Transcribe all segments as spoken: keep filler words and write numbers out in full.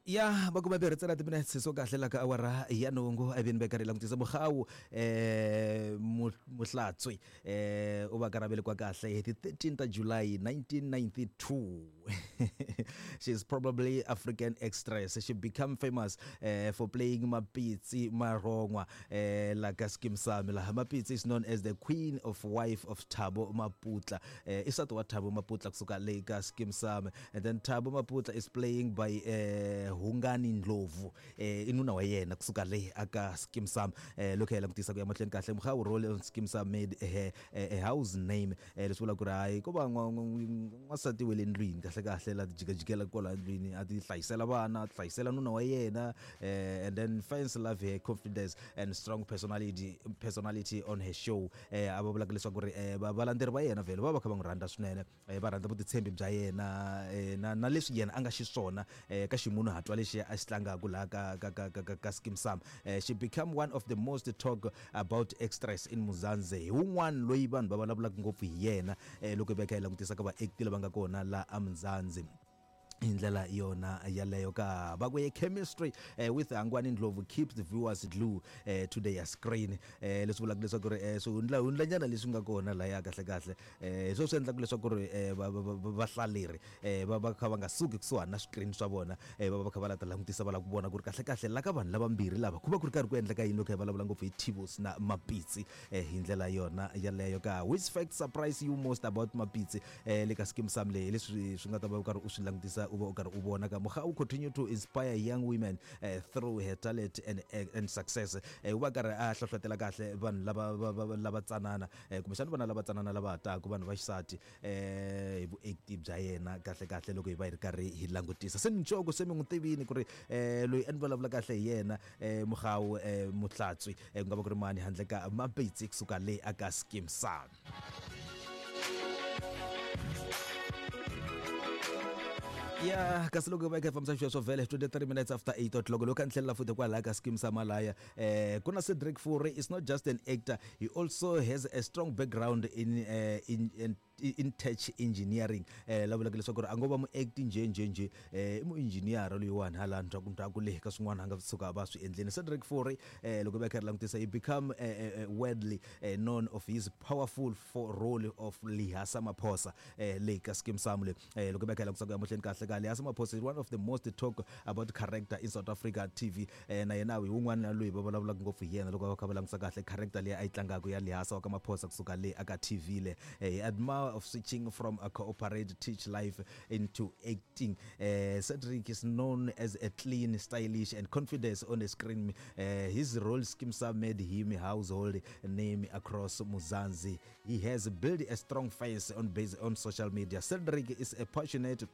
Ya makume mbirhi ntsena timinetse so kahle la ka awara ya nhungu a vini veka ri langutisa Mogau eh Motlatswe eh u va ka velekiwa kahle hi ti thirteen ta July nineteen ninety-two. She is probably African actress. She became famous eh, for playing Mapitsi Marongwa eh, la ka Skeem Saam. La Mapitsi is known as the queen of wife of Thabo Maputla. Eh, i nsati wa Thabo Maputla kusuka le ka Skeem Saam. And then Thabo Maputla is playing by eh, Hungani Ndlovu eh inuna wa yena kusuka le aka Skeem Saam. Eh lokho langutisa ku ya mahlweni kahle Mogau role on Skeem Saam made a, a, a house name eh leswi vula ku ri hayi ko va n'wansati wa le ndlwini kahle kahle la jikajikela kwala ndlwini a ti hlayisela vana a ti hlayisela nuna wa yena eh, and then fans love her confidence and strong personality personality on her show. Eh a va vulaka leswaku ri eh, valandzeri va yena vhele va va kha va n'wi rhandza swinene eh, va rhandza vutitshembi bya yena eh, na na leswi yena a nga xiswona eh, ka ximunhuhatwa lexi a xi tlangaka laha ka ka ka ka ka Skeem Saam. Eh, she became one of the most talk about actress in Mzansi. Hi wun'wana loyi vanhu va vulavulaka ngopfu hi yena eh, loko hi va kha hi langutisa ka vaacti lava nga kona la eMzansi hi ndlela yona yaleyo ka va ku chemistry eh, with Hangwani Ndlovu keeps the viewers glue eh, to their screen. Eh, leswi vulaka leswaku ri eh, swihundla hundlanyana leswi nga kona laya kahle kahle eh, swo swi endlaka leswaku ri eh, vahlaleri eh, va va kha va nga suki kusuhani na screen swa vona eh, va va kha va la ta langutisa va lava ku vona ku ri kahle kahle la ka vanhu lavambirhi lava ku va ku ri karhi ku endleka yini loko hi vulavula ngopfu hi Tibos na Mapitsi eh, hi ndlela yona yaleyo ka which fact surprise you most about Mapitsi eh, le ka Skeem Saam leyi leswi swi nga ta va u karhi u swi langutisa u va u karhi u vona ka Mogau continue to inspire young women uh, through her talent and, and success. Eh, u va karhi a hlohlotela kahle vanhu lava lava tsanana eh, kumbexana vana lava tsanana lava hataka vanhu va xisati eh, hi vuacti bya yena kahle kahle loko hi va hi ri karhi hi langutisa se Ncoko se mi n'wi tivini ku ri eh, loyi a ni vulavula kahle hi yena eh, Mogau eh, Motlatswe eh, ku nga va ku ri mani handle ka Mapitsi kusuka le aka Skeem Saam. Ya kasi loko va kha fambisa xisweswo vhele twenty-three minutes after eight o'clock loko a ni tlhelela futhi kwalaya ka Skeem Saam laya eh kuna Cedric Fourie is not just an actor, he also has a strong background in uh, in, in in tech engineering. Eh la vulaka leswaku ri a ngo va muacti nje nje nje eh i muengineer loyiwani hala ndzhaku ndzhaku le ka swin'wana a nga suka va swi endleni. Cedric Fourie eh loko va kha ri langutisa he become eh, eh, widely eh, known of his powerful for role of Lehasa Maphosa eh le ka Skeem Saam le eh loko va kha langutisa ku ya mahlweni kahle ka Lehasa Maphosa is one of the most talk about character in South Africa T V. Eh na yena hi wun'wana loyi va vulavulaka ngopfu hi yena loko va kha va langutisa kahle character leyi a yi tlangaka ya Lehasa wa ka Maphosa kusuka le aka T V le. Eh, he admire of switching from a corporate teach life into acting. Uh, Cedric is known as a clean, stylish and confidence on the screen. Uh, his role Skeem Saam made him a household name across Mzansi. He has built a strong face on base on social media. Cedric is a passionate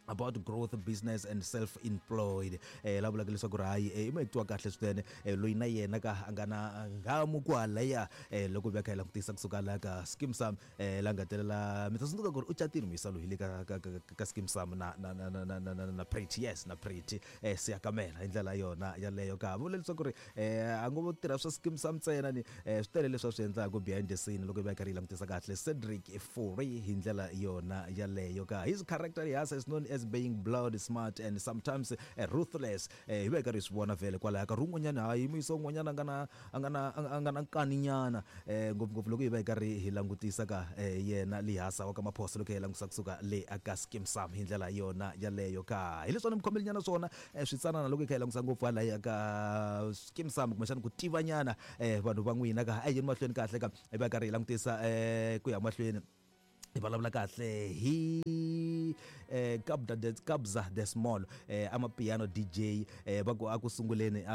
about growth, business and self-employed. Eh la vulaka leswaku ri hayi i muacti wa kahle swinene loyi na yena ka a nga na nghamu kwalaya eh loko va kha hi langutisa kusuka la ka Skeem Saam eh la nga telela mi ta tsundzuka ku ri u catile muyisa loyi le ka ka ka Skeem Saam na na na na na na na Pretty, yes na Pretty eh Siyakamela hi ndlela yona yaleyo ka vula leswaku ri eh a ngo tirha swa Skeem Saam ntsena ni eh swi tele leswi a swi endlaka behind the scene loko va kha ri langutisa kahle Cedric Fourie hi ndlela yona yaleyo ka his character has is known as being blood smart and sometimes uh, ruthless. Eh hi va karhi swi vona vhele kwalaya ka rin'wanyana hayi muyisa un'wanyana a nga na a nga na a nga na nkaninyana eh ngopfungopfu loko hi va hi karhi hi langutisa ka yena Lehasa wa ka Maphosa loko hi langutisa kusuka le aka Skeem Saam hi ndlela yona yaleyo ka hi leswi ni mikhomelinyana swona switsanana loko hi kha hi langutisa ngopfu halaya ka Skeem Saam kumbexana ku tivanyana eh vanhu va n'wina ka a yini mahlweni kahle ka hi va karhi hi langutisa eh ku ya mahlweni hi vulavula kahle hi eh Kabza de Kabza de Small eh ama piano D J eh va ku a ku sunguleni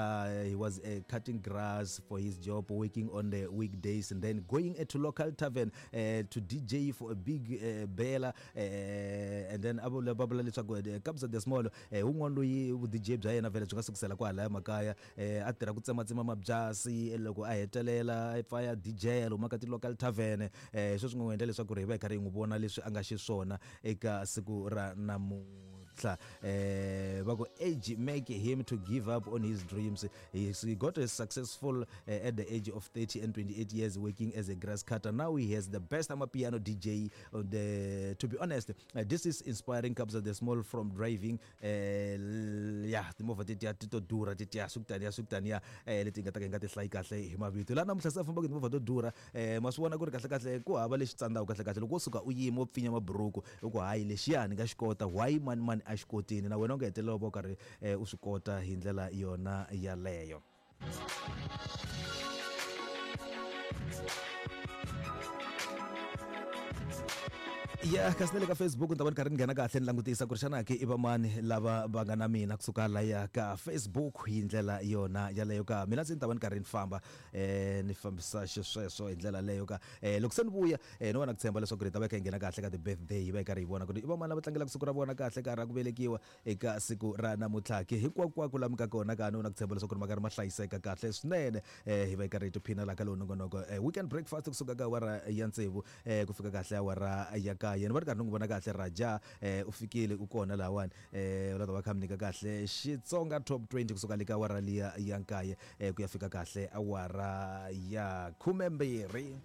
he was uh, cutting grass for his job, working on the weekdays and then going to local tavern uh, to D J for a big uh, bella eh and then a vula va vula leswaku Kabza de Small eh un'wana loyi vu D J bya yena vhele byi nga sukusela kwalaya makaya eh a tirha ku tsematsema mabyasi loko a hetelela a pfa ya D J lomu ka ti local tavern eh sweswi n'wi endla leswaku ri hi va hi karhi hi n'wi vona leswi a nga xiswona eka siku ra namuntlha. namuntlha. Eh va ku age make him to give up on his dreams. He, he got a successful uh, at the age of thirty and twenty-eight years working as a grass cutter. Now he has the best amapiano D J on the, to be honest, uh, this is inspiring. Comes the small from driving uh, yeah timovha tetiya ti to durha tetiya sukutaniya sukutaniya eh leti nga ta ka nga ti hlayi kahle hi mavito laha namuntlha se famba ku timovha to durha eh ma swi vona ku ri kahle kahle ku hava lexi tsandzaka kahle kahle loko wo suka u yima u pfinya maburuku u ku hayi lexiya ni nga xi kota why mani mani a xi kotini na wena u nga hetelela u va u karhi u swi kota hi ndlela yona yaleyo. Ya kasi na le ka Facebook ni ta va ni karhi ni nghena kahle ni langutisa ku ri xana ke i va mani lava va nga na mina kusuka laya ka Facebook hi ndlela yona yaleyo ka mina ndzi ni ta va ni karhi ni famba eh ni fambisa xisweswo hi ndlela leyo ka eh loko se ni vuya eh ni va na ku tshemba leswaku ri ta va kha hi nghena kahle ka ti-birthday hi va hi karhi hi vona ku ri i va mani lava tlangelaka siku ra vona kahle ka ra ku velekiwa eka siku ra namuntlha ke hinkwakwako laha mi ka kona ka ni na ku tshemba leswaku ri ma karhi ma hlayiseka kahle swinene eh hi va hi karhi hi tiphina laha ka lowu nongonoko eh weekend breakfast kusuka ka awara ya tsevu eh ku fika kahle awara ya kaye. Yena va ri karhi ni n'wi vona kahle Raja eh u fikile u kona lahawani eh u la ta va kha mi nyika kahle Xitsonga top twenty kusuka le ka awara liya ya nkaye eh ku ya fika kahle awara ya khumembirhi.